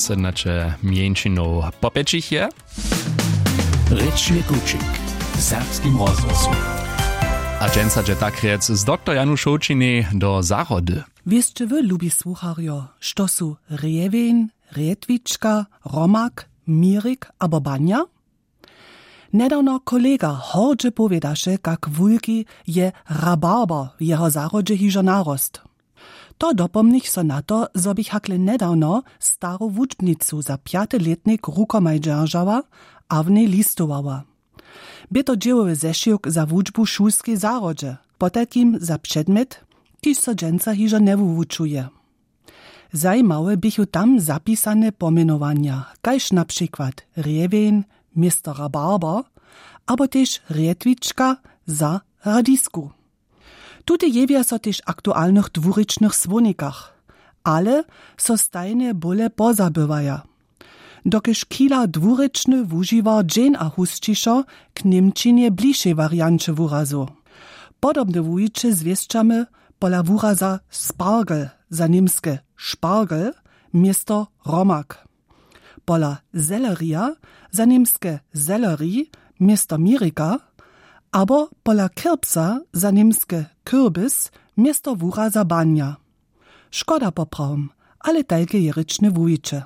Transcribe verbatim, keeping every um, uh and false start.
Sednaće mjeńšinow popjećich je. Rěčny kućik w serbskim rozhłosu. A dźensa dźe tak rjec z doktor Janušowčinej do zahrody. Wěsće wy, lubi słucharjo, što su rjewjeń, rjetwička, romak, mirik abo banja? Njedawno kolega hordźe powědaše, kak wulki je rabarber w jeho zahrodźe hižo narost. To dopomnich so na to, zo běch hakle njedawno staru wučbnicu za pjaty lětnik rukomaj dźeržała a w njej listowała. Bě to dźěłowy zešiwk za wučbu w šulskej zahrodźe, potajkim za předmjet, kiž so dźensa hižo njewuwučuje. Zajimawe běchu tam zapisane pomjenowanja, kaž na přikład rjewjeń město rabarber, abo tež rjetwička za radisku. Tute jewja so tež w aktualnych dwurěčnych słownikach, ale so stajnje bóle pozabywaja, dokelž chila dwurěčny wužiwar dźeń a husćišo k němčinje blišej warianće wurazow. Podobne wuwiće zwěsćamy pola wuraza spargel, za němske spargel, město romak, pola selerija, za němske selleri, město mirika, abo pola kirbsa, za němske kürbis, město wuraza banja. Škoda poprawom, ale tajke je rěčne wuwiće.